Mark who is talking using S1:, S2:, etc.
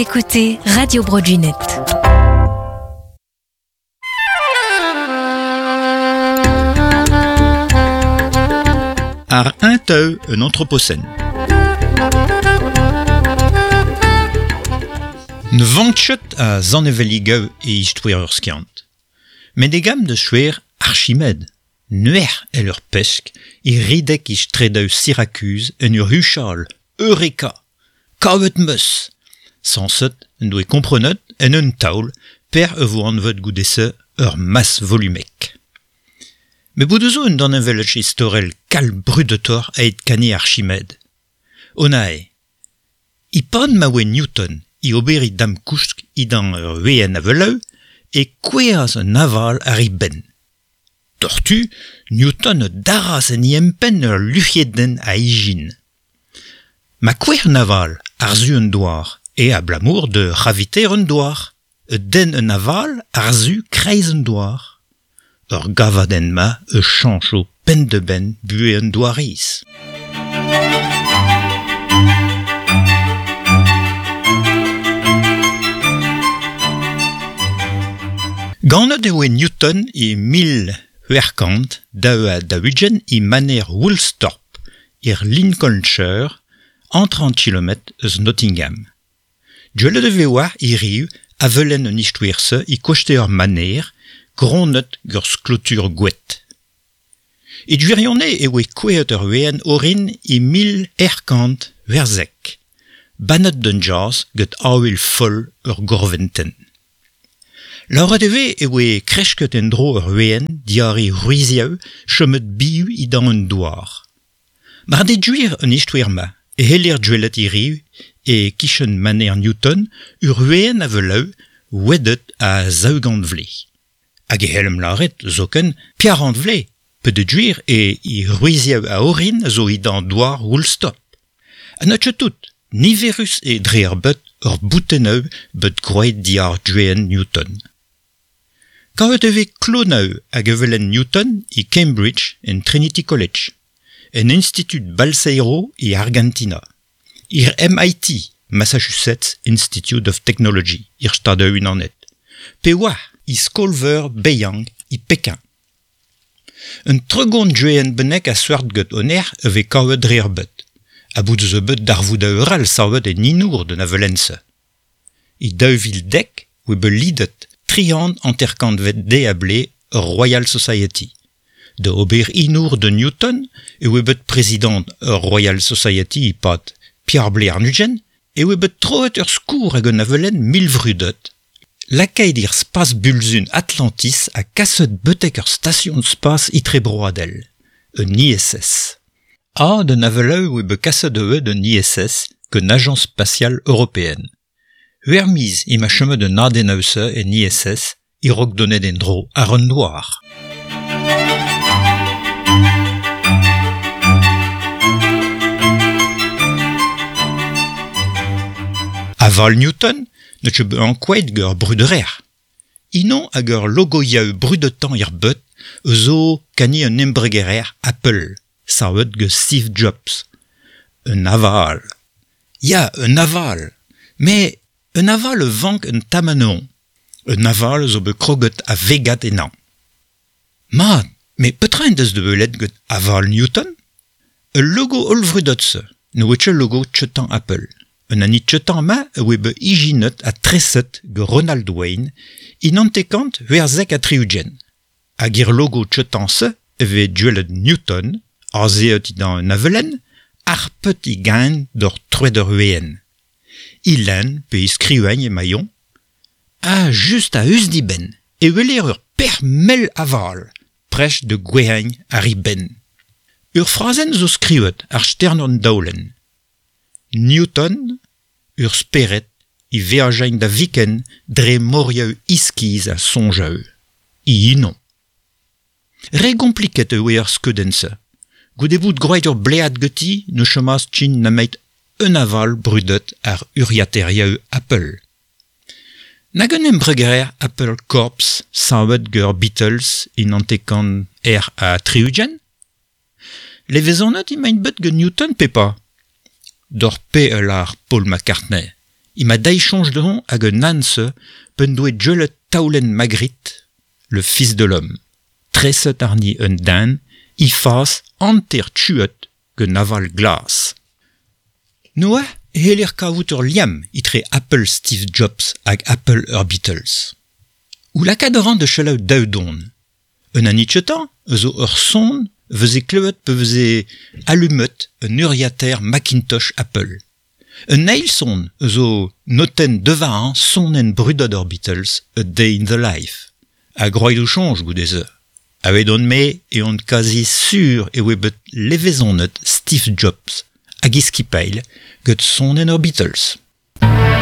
S1: écoutez Radio Bro Gwened.
S2: Ar un teu un anthropocène. Ne vank a zaneveligaou e istoer ur skiant. Met e gam de schwer Archimède, nuer el ur pesk, e ridek i stredeu Syracuse en ur huchal, Eureka, kavet meus. Sanset en doe komprenet en un taol per e vo anvet goudese ur mas volumek. Me bout zo un dan envelech istorel kal brudetor eit kani Archimède. Onae, i pan ma oe Newton i oberi dam kousk i dan ur ween aveleu, e koueaz un aval ar i ben. Tortu, Newton daraz en i empen ur luc'heden a ijin. Ma kouer un aval ar zu un douar, e a blamour de raviter un douar, e den un aval ar zu kreiz un douar. Ur gavaden ma e chancho pen de ben bue un douariz. Ganet eo e Newton e mil c'hwec'hkant daou ha daou-ugent e maner Woolsthorpe, er Lincolnshire, an 30 km eus Nottingham. Dwelet e vez war hiriv avelen un istoer-se e koste ur maner, gronnet gant sklotur gwet. E gwirionez e oe kouezhet ur ween orin e mil erkant werzek, bannet d'un jazz get avel foll ur gorventen. Lauret e vez e oe krechket en dro ur ween diar e ruiziaou chomet biu i dan un douar. Mar de gwir un istoer ma, e heller dwelet hiriv e kichen maner Newton ur ween a veleu wedet a zaougant vle. Hag e hellem laret zoken piarant vle, pe de gwir e i ruiziaou a orin zo i dan douar Woolstop. Ha n'eus tout, niverus e dre ar bet ur bouteneu bet groet diar dween Newton. Kavet e vez kloneu hag evelen Newton e Cambridge en Trinity College, en Institut Balseiro e Argentina, ir MIT, Massachusetts Institute of Technology, ir Stadoù Unanet, pe oa e Skolveur Beiyang e Pekin. Un tregont dween bennek a seurt get oner e vez kavet dre ar bet, a bout eus bet darvoud a eural savet en inour de navelense. E daou vil dek oe bet lidet triant anterkantvet de a ble ur Royal Society. De ober inour de Newton e oe bet prezident ur Royal Society i pad Pierre Blair Nugen e oe bet troet ur skour hag un avelen milvrudet. Lakaet ir spas bulzun Atlantis a kaset betek ur station spas itrebroadel, un ISS. A d'un aveleu oe bet kaset eue d'un ISS qu'une agence spatiale européenne. Huermiz i ma chemet de nadenause en ISS i rok donet en dro ar un noir. Aval Newton ne che be ankouaet geur bruderer. Inon hag ur logoiaou brudetan ir beut zo kani un embregerer Apple, savet ge Steve Jobs. Un aval. Ya, un aval. Mais un aval vank un tamaneon. Un aval zo bet kroget a vegat enan. Mat, mais petra en deus de belet get aval Newton? Ul logo hollvrudot-se, ne oe ket logo tchetan Apple. Un ani tchetan ma e oe bet ijinet a treset ge Ronald Wayne in antekant huerzek a triugen. Hag ir logo tchetan-se e vez duelet Newton, azeet i dan un avelen, ar pet i gain d'ur troet ur ween. Ilen pe i skriuagn e maillon, a just a eus di ben, e weler ur per mel aval, prech de gwehagn ar i ben. Ur frazen zo skriuet ar stern an daolen. Newton, ur speret, i veajain da viken dre moriaou iskiz a sonjaou. I inon. Re kompliket eo ar skeudenn-se. Goude bout groet ur blead geti ne chomaz tchin nameit un aval brudet ar uriateriaou Apple. Nag un embregerer Apple Corps savet geur Beatles in antekan er a triugen? Levezonet i maint bet ge Newton pe pa? D'or pe ul ar Paul McCartney. I ma daichonj dehon hag un anse pen doe djeulet taulen Magritte, le fils de l'homme. Treset arni un dan, i fas anter tuet ge naval glas. Noa e heller kavout ur liam itre Apple Steve Jobs hag Apple ur Beatles. Ou lakaat ran de chelaou daoudon. Un anitchetan zo ur son veze kleuet pe veze allumet un uriater Macintosh Apple. Un eil son zo noten devañ sonen brudad ur Beatles A Day in the Life. A groidou chonj goudeze. A on me e on quasi sur e oe bet levezonet Steve Jobs hag iskipeil get sonen ur Beatles.